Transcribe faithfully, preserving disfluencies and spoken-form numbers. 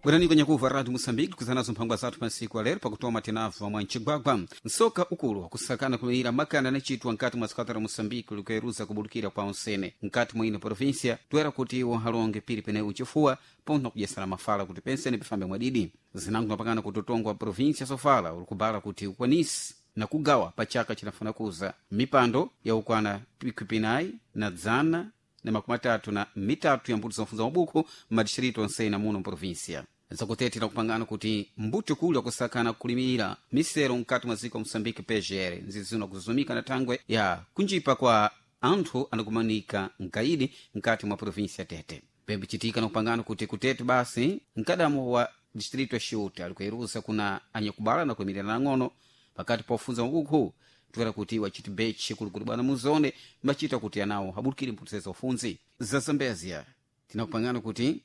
Bwerani kwenye kuva Radio Moçambique kuzanazo mphangwa zathu pansiku alero pakutoma tinabva mwa mcigwagwa. Nsoka ukulu wakusakana kulira makanda anacitwa nkati mwa sikata la Moçambique likueruza kubulukira kwa onsene nkati mwa ino província, toera kuti iwo halonge piri pene uchifuwa ponto kudyesana mafala kuti pensene pifambe mwadidi. Zinango napangana kuti utongo wa província sofala ulikubala kuti ukwanisi na kugawa pa chaka chinafuna kuza mipando ya ukwana pikwi na dzana na makumi atatu na mitatu ya mbuto zofunza mabuku m'madistrito onsene muno mprovinsia. Zakutete kupangana kuti mbuto kuli wakusakana kulimira misero mkati mwa ziko Moçambique P G R nzizina kuzumika na thangwe ya kunjipa kwa anthu anakumanika mkaidi mkati mwa provinsia Tete. Pembe chitika na kupangana kuti kutete basi mkadamo wa distrito ya Xiuta alikueruza kuna anyakubala na kuimirira nang'ono pakati pa ufunza mabuku, tukera kuti wachiti bechi kulikuli bwana muzone machita kuti anawo habukire mphuthu za ufunzi. Za Zambezia tinakupangana kuti